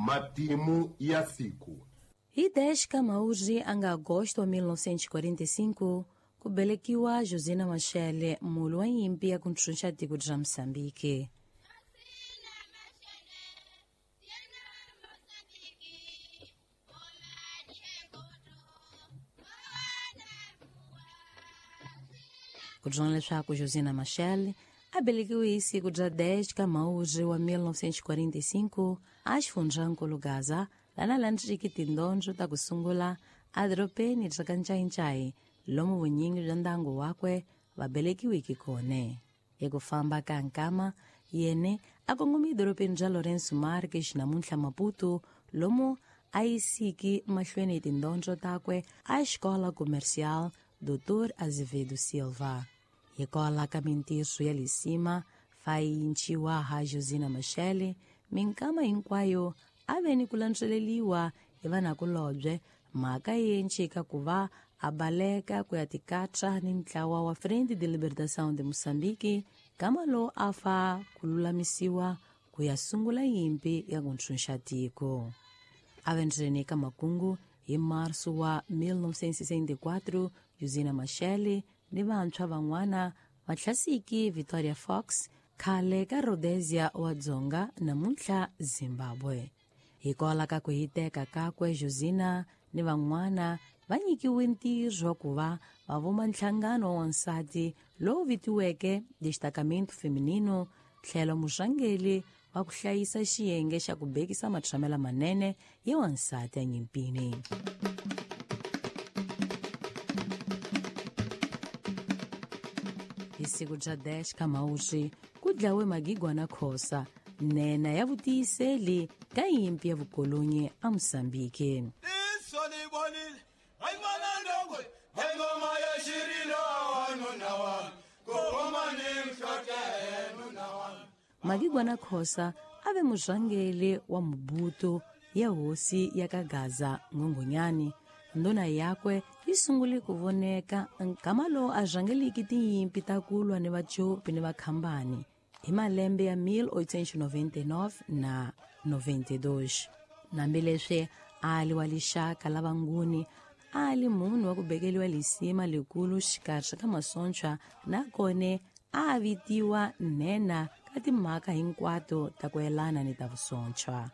Matimu ya siku. Hi 10 ka Mhawuri a nga Agosto wa 1945 ku velekiwa Josina Machel, mulwi wa nyimpi ya ku ntshunxa tiko ra Mozambique. Ku byona leswaku Josina Machel a velekiwe hi siku ra 10 ka Mhawuri wa 1945 a xifundzankulu Gaza, lana landziki tindondzo ta ku sungula edorobeni ra ka Ncayincai, lomu vunyingi bya ndyangu wakwe va velekiweke kona. Hi ku famba ka nkama, yena a kongome edorobeni ra Lourenço Marques, namuntlha Maputo, lomu a yisiki mahlweni tindondzo takwe a xikola comercial Dr. Azevedo Silva. Hikwalaho ka mintirho ya lisima fayinciwa ha Josina Machel, minkama hinkwayo a ve ni ku landzeleriwa hi vanakulobye, mhaka yi encika ku va a baleka ku ya tikatsa ni ntlawa wa Frente de Libertação de Moçambique, kama lowu a fa ku lulamisiwa ku ya sungula nyimpi ya ku ntshunxa tiko. A ve ndzeni ka makungu hi marso wa 1964, Josina Machel ni vantshwa van'wana va hlasiki Victoria Fox, khale ka Rhodesia wa Dzonga, namuntlha Zimbabwe. Hikwalaho ka ku hiteka kakwe, Josina ni van'wana va nyikiwe ntirho wa ku va va vumba nhlangano wa wansati lowu vitiweke Destacamento Feminino, tlhelo murhangeri wa ku hlayisa xiyenge xa ku bekisa matshamelo manene ya wansati enyimpini. Hi siku ra 10 ka Mhawuri ku dlawe Magigwana Khosa, nhenha ya vutiyiseli ka nyimpi ya vukolonyi eMozambique. Magigwana Khosa a ve murhangeri wa Mobutu ya hosi ya ka Gaza Nghunghunyani. Ndhuna yakwe yi sungule ku voneka nkama lowu a rhangeliki tinyimpi ta ku lwa ni Vacopi ni Vakhambani hi malembe ya 1899 na 92. Hambileswi a li wa lixaka la Vanguni, a li munhu wa ku bekeriwa lisima likulu xikarhi ka masocha, nakona a vitiwa nhenha ka timhaka hinkwato ta ku yelana ni ta vusocha.